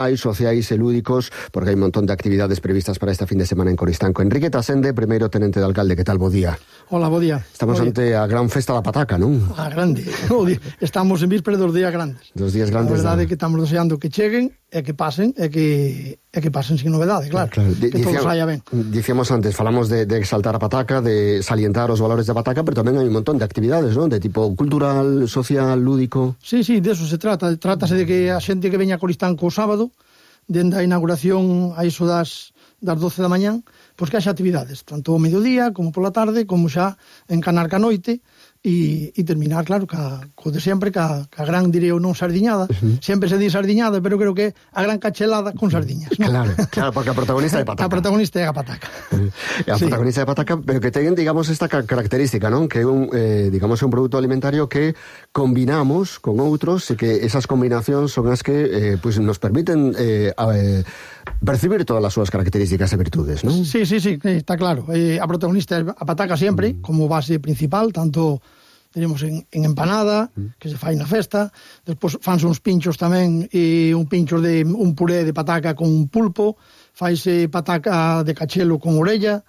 sociais e lúdicos, porque hai un montón de actividades previstas para esta fin de semana en Coristanco. Enrique Tasende, primeiro tenente de alcalde, que tal, bo día? Hola, bo día. Estamos ante a gran festa da pataca, non? A grande. Estamos en víspera dos días grandes. Dos días grandes. A verdade é que estamos deseando que cheguen e que pasen, e que pasen sin novedade, claro. Que todo saia ben. Dicíamos antes, falamos de exaltar a pataca, de salientar os valores da pataca, pero tamén hai un montón de actividades, non? De tipo cultural, social, lúdico. Sí, de eso se trata. Trátase de que a xente que veña a Coristanco o sábado, dende a inauguración a iso das 12 da mañán, pois que haxa actividades, tanto ao mediodía, como pola tarde, como xa encanar ca noite, e terminar, claro, co de sempre, ca gran, direi non sardiñada. Sempre se di sardiñada, pero creo que a gran cachelada con sardiñas, non? Claro, porque a protagonista é pataca. A protagonista é a pataca. Protagonista é pataca, pero que ten, digamos, esta característica, non? Que é un produto alimentario que combinamos con outros e que esas combinacións son as que pues nos permiten percibir todas as súas características e virtudes, non? Sí, está claro. A protagonista é a pataca sempre, como base principal, tanto tenemos en empanada, que se fai na festa, despois fanse uns pinchos tamén, e un pincho de un puré de pataca con pulpo, faise pataca de cachelo con orella,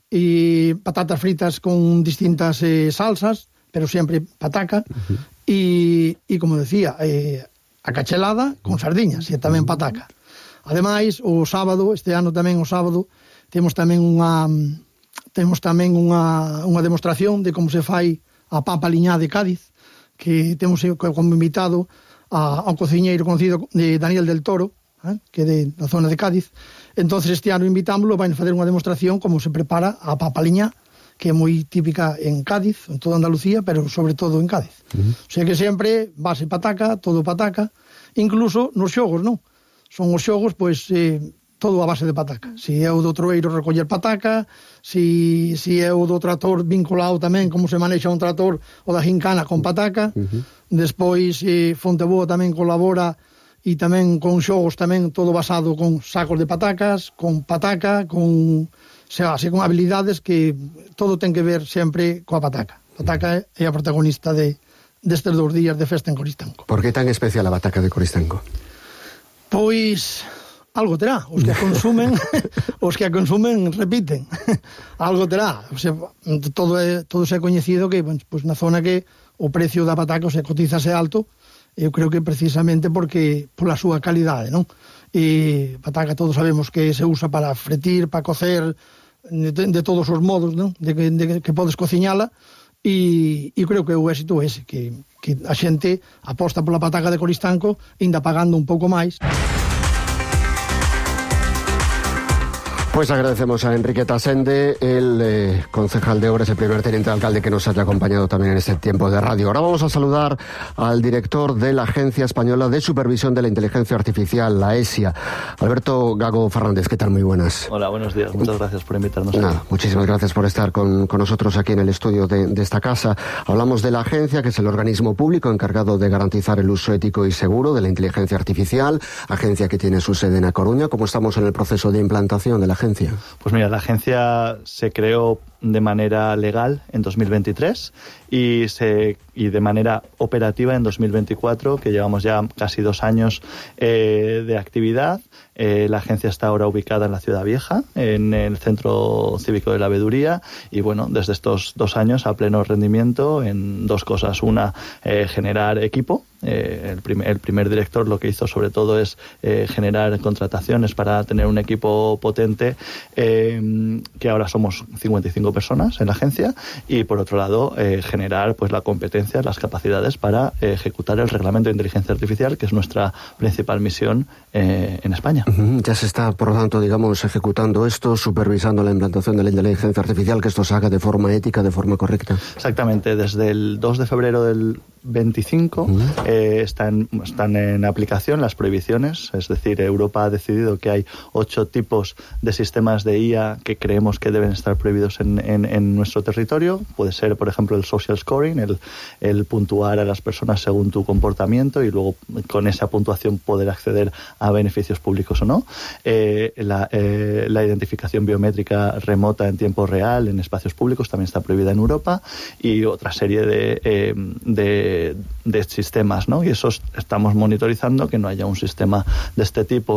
e patatas fritas con distintas salsas, pero sempre pataca, e como decía, a cachelada con sardiñas, e tamén pataca. Ademais, o sábado, este ano tamén o sábado, temos tamén unha demostración de como se fai a papa liñá de Cádiz, que temos como invitado ao cociñeiro conocido de Daniel del Toro, que é da zona de Cádiz. Entonces este ano invitámoslo, vai facer unha demostración como se prepara a papa liñá, que é moi típica en Cádiz, en toda Andalucía, pero sobre todo en Cádiz. O sea que sempre base pataca, todo pataca, incluso nos xogos, non? Son os xogos, pois, todo a base de pataca. Si é o do troeiro recoller pataca, si é o do trator vinculado tamén, como se manexa un trator, o da gincana con pataca. Despois, Fonteboa tamén colabora, e tamén con xogos tamén todo basado con sacos de patacas, con pataca, con habilidades que todo ten que ver sempre coa pataca. Pataca é a protagonista destes 2 días de festa en Coristanco. Por que tan especial a pataca de Coristanco? Pois algo terá, os que a consumen repiten. Algo terá, o sea, todo é coñecido que, pues, na zona que o precio da pataca, o sea, cotizase alto, eu creo que precisamente porque pola súa calidade, non? E pataca todos sabemos que se usa para fretir, para cocer, de todos os modos, non? De que podes cociñala, e creo que o éxito é ese, que a xente aposta pola pataca de Coristanco, ainda pagando un pouco máis. Pues agradecemos a Enrique Tasende, el concejal de Obras, el primer teniente de alcalde que nos haya acompañado también en este tiempo de radio. Ahora vamos a saludar al director de la Agencia Española de Supervisión de la Inteligencia Artificial, la ESIA, Alberto Gago Fernández. ¿Qué tal? Muy buenas. Hola, buenos días. Muchas gracias por invitarnos. Muchísimas gracias por estar con nosotros aquí en el estudio de esta casa. Hablamos de la agencia, que es el organismo público encargado de garantizar el uso ético y seguro de la inteligencia artificial, agencia que tiene su sede en A Coruña. ¿Cómo estamos en el proceso de implantación de la agencia? Pues mira, la agencia se creó de manera legal en 2023 y de manera operativa en 2024, que llevamos ya casi 2 años de actividad. La agencia está ahora ubicada en la Ciudad Vieja, en el Centro Cívico de la Veeduría, y bueno, desde estos 2 años a pleno rendimiento en 2 cosas. Una, generar equipo. El primer director lo que hizo sobre todo es generar contrataciones para tener un equipo potente, que ahora somos 55 personas en la agencia, y por otro lado generar pues la competencia, las capacidades para ejecutar el reglamento de inteligencia artificial, que es nuestra principal misión en España. Ya se está, por lo tanto, digamos, ejecutando esto, supervisando la implantación de la inteligencia artificial, que esto se haga de forma ética, de forma correcta. Exactamente, desde el 2 de febrero del 25 están en aplicación las prohibiciones, es decir, Europa ha decidido que hay 8 tipos de sistemas de IA que creemos que deben estar prohibidos en en nuestro territorio. Puede ser, por ejemplo, el social scoring, el puntuar a las personas según tu comportamiento y luego con esa puntuación poder acceder a beneficios públicos o no. La identificación biométrica remota en tiempo real en espacios públicos también está prohibida en Europa, y otra serie de sistemas, ¿no? Y eso estamos monitorizando, que no haya un sistema de este tipo